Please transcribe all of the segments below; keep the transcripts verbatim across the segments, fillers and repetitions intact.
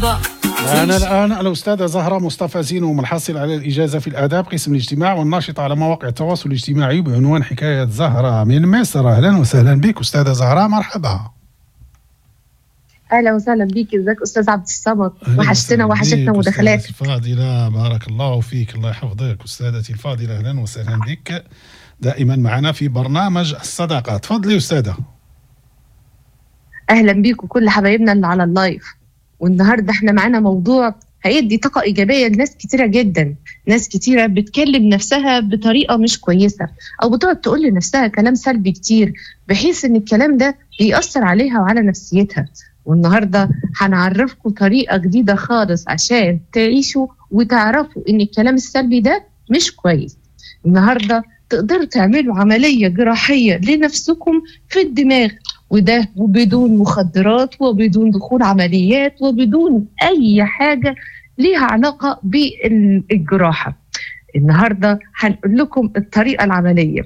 الصدى. معنا الآن الأستاذة زهرة مصطفى زينو، الحاصلة على الإجازة في الآداب قسم الاجتماع، والناشطة على مواقع التواصل الاجتماعي بعنوان حكاية زهرة من مصر. أهلا وسهلا بك أستاذة زهرة، مرحبا. اهلا وسهلا بيك، ازيك استاذ عبد الصمد؟ وحشتنا وحشتنا مداخلاتك. الفاضلة، بارك الله فيك، الله يحفظك أستاذتي الفاضلة، أهلا وسهلا بك دائما معنا في برنامج الصداقة. تفضلي أستاذة. اهلا بيك وكل حبايبنا اللي على ال live. والنهارده احنا معانا موضوع هيدي طاقة ايجابية لناس كتيرة جدا. ناس كتيرة بتكلم نفسها بطريقة مش كويسة، او بتقعد تقول لنفسها كلام سلبي كتير، بحيث ان الكلام ده بيأثر عليها وعلى نفسيتها. والنهارده هنعرفكم طريقه جديدة خالص عشان تعيشوا وتعرفوا ان الكلام السلبي ده مش كويس. النهارده تقدروا تعملوا عملية جراحية لنفسكم في الدماغ، وده وبدون مخدرات وبدون دخول عمليات وبدون اي حاجة ليها علاقة بالجراحه. النهارده هنقول لكم الطريقة العملية.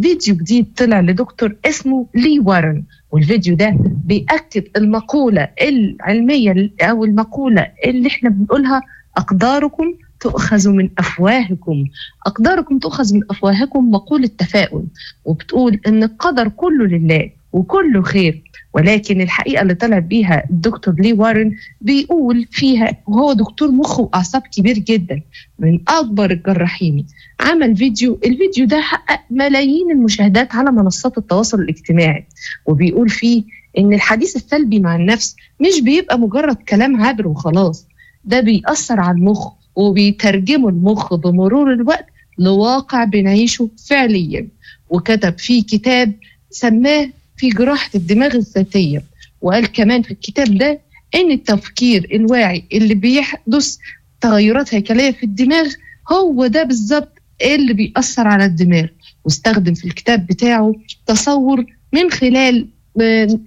فيديو جديد طلع لدكتور اسمه لي وارن، والفيديو ده بيأكد المقولة العلمية أو المقولة اللي احنا بنقولها: أقداركم تؤخذ من أفواهكم. أقداركم تؤخذ من أفواهكم، مقولة تفاؤل، وبتقول إن القدر كله لله وكله خير. ولكن الحقيقة اللي طلع بيها الدكتور لي وارن بيقول فيها، وهو دكتور مخ وأعصاب كبير جدا من أكبر الجراحين، عمل فيديو، الفيديو ده حقق ملايين المشاهدات على منصات التواصل الاجتماعي، وبيقول فيه إن الحديث السلبي مع النفس مش بيبقى مجرد كلام عابر وخلاص، ده بيأثر على المخ وبيترجمه المخ بمرور الوقت لواقع بنعيشه فعليا. وكتب فيه كتاب سماه في جراحة الدماغ الذاتية، وقال كمان في الكتاب ده إن التفكير الواعي اللي بيحدث تغيرات هيكلية في الدماغ هو ده بالظبط اللي بيأثر على الدماغ. واستخدم في الكتاب بتاعه تصور من خلال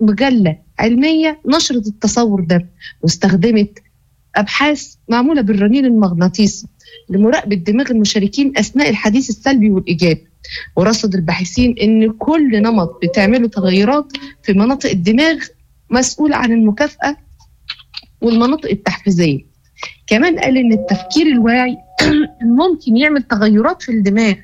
مجلة علمية نشرت التصور ده، واستخدمت أبحاث معمولة بالرنين المغناطيسي لمراقبة دماغ المشاركين أثناء الحديث السلبي والإيجابي. ورصد الباحثين إن كل نمط بتعمله تغيرات في مناطق الدماغ مسؤول عن المكافأة والمناطق التحفيزية. كمان قال إن التفكير الواعي ممكن يعمل تغيرات في الدماغ،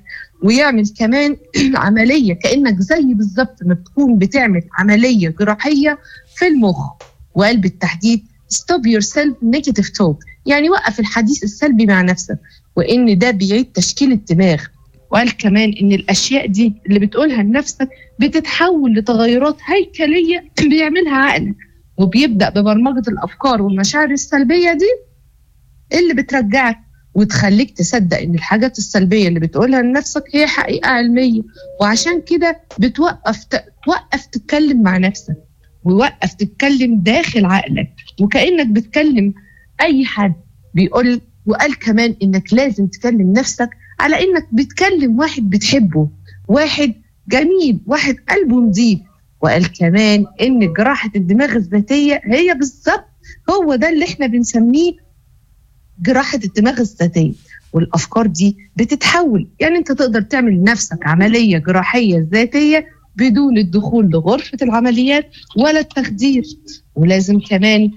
ويعمل كمان عملية كأنك زي بالظبط ما بتكون بتعمل عملية جراحية في المخ. وقال بالتحديد stop yourself negative talk، يعني وقف الحديث السلبي مع نفسك، وإن ده بيعيد تشكيل الدماغ. وقال كمان إن الأشياء دي اللي بتقولها لنفسك بتتحول لتغيرات هيكلية بيعملها عقلك، وبيبدأ ببرمجة الأفكار والمشاعر السلبية دي اللي بترجعك وتخليك تصدق إن الحاجات السلبية اللي بتقولها لنفسك هي حقيقة علمية. وعشان كده بتوقف توقف تتكلم مع نفسك، ووقف تتكلم داخل عقلك وكأنك بتكلم أي حد. بيقول وقال كمان إنك لازم تكلم نفسك على إنك بتكلم واحد بتحبه، واحد جميل، واحد قلبه نضيف. وقال كمان إن جراحة الدماغ الذاتية هي بالظبط هو ده اللي إحنا بنسميه جراحة الدماغ الذاتية. والأفكار دي بتتحول، يعني أنت تقدر تعمل لنفسك عملية جراحية ذاتية بدون الدخول لغرفة العمليات ولا التخدير. ولازم كمان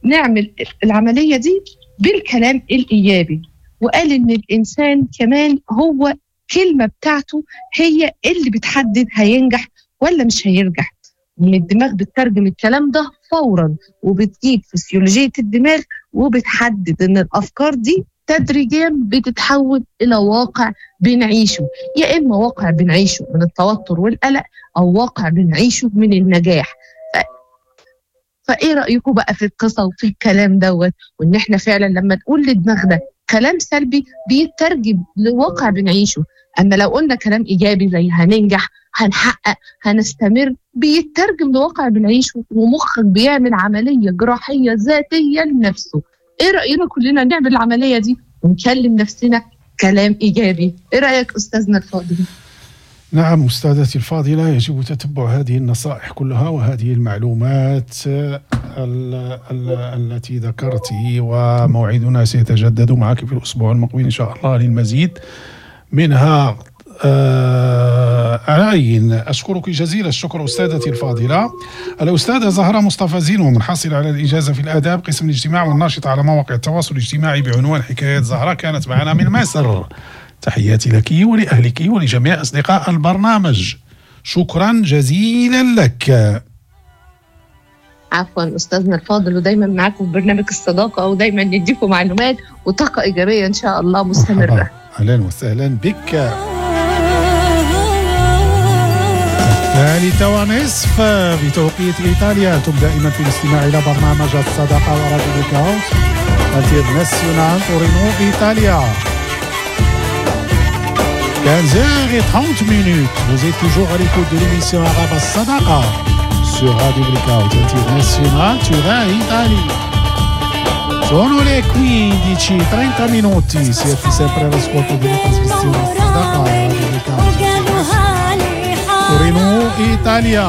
نعمل العملية دي بالكلام الإيجابي. وقال إن الإنسان كمان هو كلمة بتاعته هي اللي بتحدد هينجح ولا مش هينجح، وإن الدماغ بتترجم الكلام ده فورا، وبتجيب فسيولوجية الدماغ، وبتحدد إن الأفكار دي تدريجيا بتتحول إلى واقع بنعيشه، يا إما واقع بنعيشه من التوتر والقلق، أو واقع بنعيشه من النجاح. ف... فإيه رأيكم بقى في القصة وفي الكلام دوت، وإن إحنا فعلا لما نقول لدماغنا كلام سلبي بيترجم لواقع بنعيشه، أما لو قلنا كلام إيجابي زي هننجح، هنحقق، هنستمر، بيترجم لواقع بنعيشه، ومخك بيعمل عملية جراحية ذاتية لنفسه. إيه رأينا كلنا نعمل العملية دي ونكلم نفسنا كلام إيجابي؟ إيه رأيك أستاذنا الفاضل؟ نعم أستاذتي الفاضلة، يجب تتبع هذه النصائح كلها وهذه المعلومات ال ال التي ذكرت، وموعدنا سيتجدد معك في الأسبوع المقبل إن شاء الله للمزيد منها. آه على أي، أشكرك جزيل الشكر أستاذتي الفاضلة الأستاذة زهرة مصطفى زينو، الحاصلة على الإجازة في الآداب قسم الاجتماع والناشطة على مواقع التواصل الاجتماعي بعنوان حكايات زهرة، كانت معنا من مصر. تحياتي لك ولأهلك ولجميع أصدقاء البرنامج، شكرا جزيلا لك. عفوا أستاذنا الفاضل، ودايما معاكم في برنامج الصداقة، ودايما نديكم معلومات وطاقة إيجابية إن شاء الله مستمرة. أهلا وسهلا بك. الثالثة ونصف بتوقيت إيطاليا، أنتم دائما في الاستماع إلى برنامج الصداقة وراديو بلاك Internazionale تورينو إيطاليا. quinze heures et trente minutes, vous êtes toujours à l'écoute de l'émission Arabe Sadaqa sur Radio Blackout International Turin, Italie. Sono le quindici e trenta minuti, siete sempre all'ascolto della trasmissione Sadaqa Radio Blackout Torino, Italia.